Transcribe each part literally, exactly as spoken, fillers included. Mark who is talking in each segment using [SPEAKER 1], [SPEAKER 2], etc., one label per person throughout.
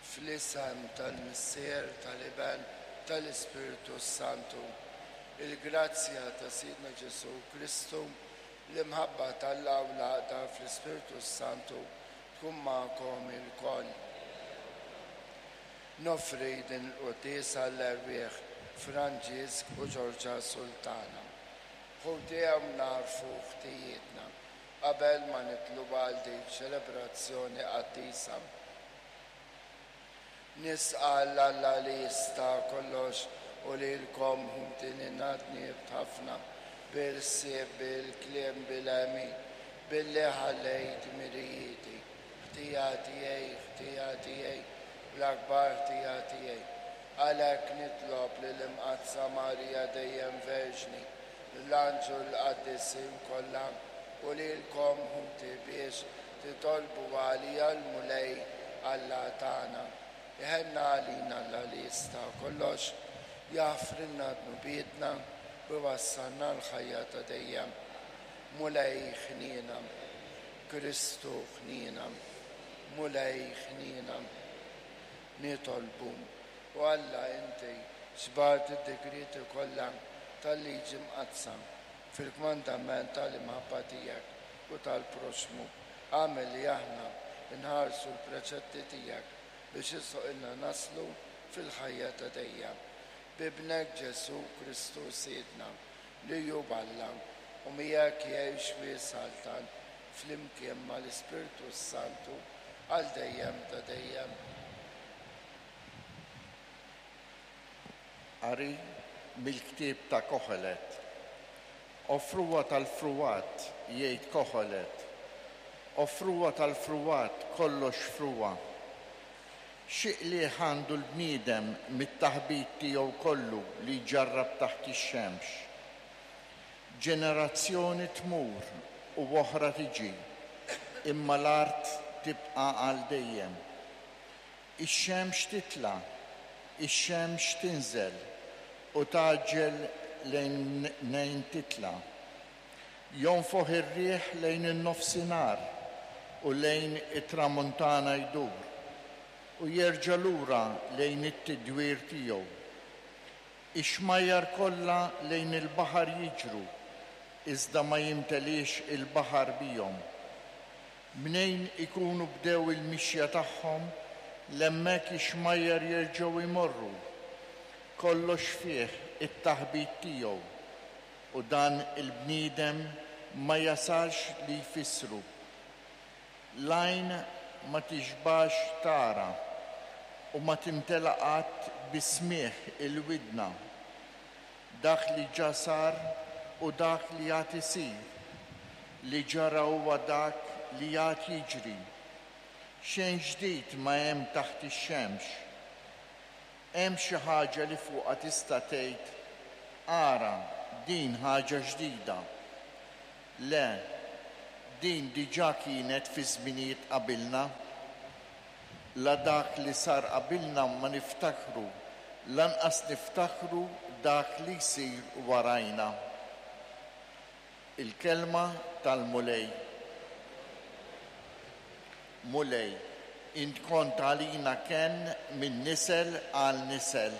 [SPEAKER 1] Fl-isem tal-Missier, tal-Iben, tal-Ispirtu Santu. Il-grazzja ta' Sidna Ġesù Kristu, l-imħabba t'Alla u l-għaqda fl-Ispirtu Santu tkun magħkom ilkoll. Noffri din il-quddiesa l-erwieħ Franġisk u Ġorġa Sultana. Ħuti, ejjew nagħrfu ħtijietna qabel ma nidħlu għal din ċelebrazzjoni qaddisa. Nistqarr 'l Alla li jista' kollox u lilkom, ħuti, li dnibt ħafna bil-ħsieb, bil-kliem, bil-għemil, billi ħallejt dmirijieti. Ħtija tiegħi, ħtija tiegħi, l-akbar ħtija tiegħi. Għalhekk nitlob lill-Imqaddsa Marija dejjem Verġni, l-anġli, l-qaddisin kollha u lilkom, ħuti, biex titolbu għalija lill-Mulej Alla tagħna. Iħenn għalina Alla li jista' kollox, jaħfrilna dnubietna u jwassalna l-ħajja ta' dejjem. Mulej ħniena, Kristu ħniena, Mulej ħniena. Nitolbu. O Alla, inti ġbart id-digrieti kollha tal-liġi mqaddsa fil-kmandament tal-imħabba tiegħek u tal-proxmu. Agħmel li aħna nħarsu l-preċetti tiegħek biex jistħoqqilna naslu fil-ħajja ta' dejjem. B'Ibnek Ġesù Kristu Sidna, li hu Alla u miegħek jgħix u jsaltan flimkien mal-Ispirtu Santu għal dejjem ta' dejjem.
[SPEAKER 2] Qari mill-ktieb ta' Koħelet. O frugħa tal-frugħat, jgħid Koħelet. O frugħa tal-frugħat, kollox frugħa. Xi qligħ għandu l-bniedem mit-taħbit tiegħu kollu li jġarrab taħt ix-xemx? Ġenerazzjoni tmur u oħra tiġi, imma l-art tibqa' għal dejjem. Ix-xemx titla', ix-xemx tinżel u tgħaġġel lejn mnejn titla'. Jonfoħ ir-riħ lejn in-nofsinhar u lejn it-tramuntana jdur u jerġa' lura lejn it-tidwir tiegħu. Ix-xmajjar kollha lejn il-baħar jiġru, iżda ma jimteliex il-baħar bihom. Mnejn ikunu bdew il-mixja tagħhom, 'l hemmhekk ix-xmajjar jerġgħu jmorru. Kollox fih it-taħbit tiegħu, u dan il-bniedem ma jasalx li jfissru. L-għajn ma tixbax tara u ma timtela qatt bis-smigħ il-widna. Dak li ġa sar u dak li għad isir, li ġara huwa dak li għad jiġri. Xejn ġdid ma hemm taħt ix-xemx. Hemm xi ħaġa li fuqha tista' tgħid, "Ara, din ħaġa ġdida." Le, din diġà kienet fi żminijiet qabilna. La dak li sar qabilna ma niftakru, lanqas niftakru dak li jsir warajna. Il-kelma tal-Mulej. Mulej, int kont għalina kenn minn nisel għal nisel.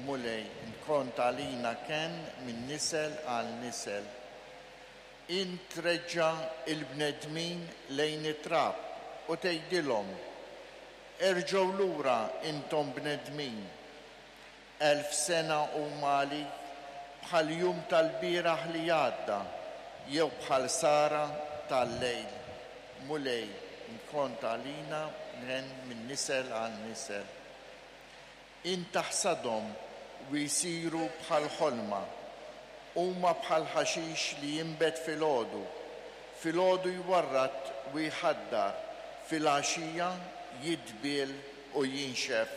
[SPEAKER 2] Mulej, int kont għalina kenn minn nisel għal nisel. Int treġġa' il-bnedmin lejn it-trab u tgħidilhom, "Erġgħu lura intom bnedmin." Elf sena huma għalik bħal jum tal-bieraħ li għadda jew bħal sahra tal-lejl. Mulej, int kont għalina kenn minn nisel għal nisel. Int taħsadhom u jsiru bħal ħolma. Huma bħal ħaxix li jinbet filgħodu. Filgħodu jwarrad u jħaddar, filgħaxija jidbiel u jinxef.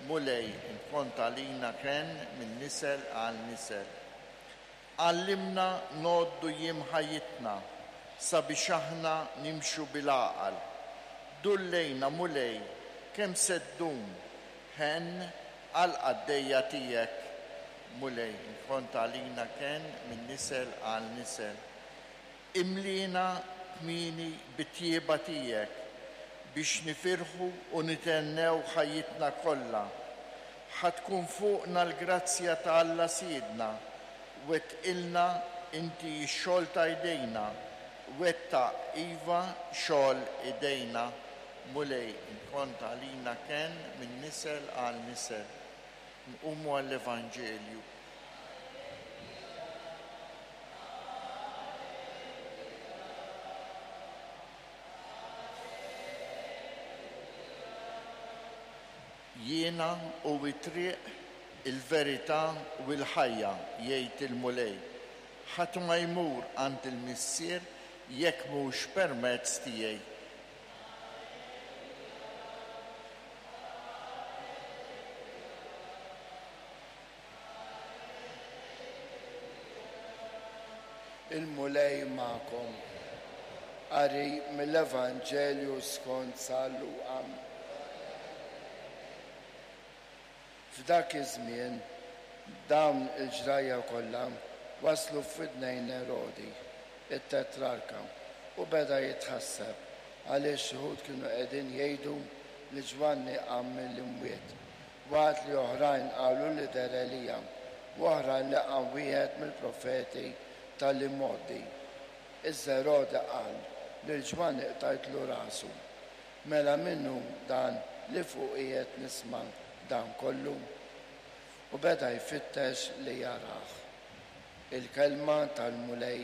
[SPEAKER 2] Mulej, int kont għalina kenn minn nisel għal nisel. Għallimna ngħoddu jiem ħajjitna sabiex aħna nimxu bil-għaqal. Dur lejna, Mulej, kemm se ddum, ħenn għall-qaddejja tiegħek. Mulej, int kont għalina kenn minn nisel għal nisel. Imlina kmieni bit-tjieba tiegħek biex nifirħu u nitennew ħajjitna kollha. Ħa tkun fuqna l-grazzja ta' Alla Sidna, wettqilna inti x-xogħol ta' idejna, wettaq iva xogħol idejna. Mulej, inkont għalina kenn minn nisel għal nisel. Nqumu għall-Evanġelju. Jiena u it-triq, il-verità u l-ħajja, jgħid il-Mulej. Ħadd ma jmur għand il-Missier jekk mhux permezz tiegħi.
[SPEAKER 1] Il-Mulej magħkom. Qari mill-Evanġelju skont San Luqa. F'dak iż-żmien dawn il-ġrajja kollha waslu f'widnejn Erodi, it-tetrarka, u beda jitħasseb għaliex xi wħud kienu qegħdin jgħidu li Ġwanni qam mill-imwiet, waqt li oħrajn qalu li deher Elija, u oħrajn li qam wieħed mill-profeti tal-imgħoddi. Iżda Erodi qal lil Ġwanni qtajtlu rasu. Mela minnu dan li fuq qiegħed nisma' dan kollu? U beda jfittex li jarah. Il-kelma tal-Mulej.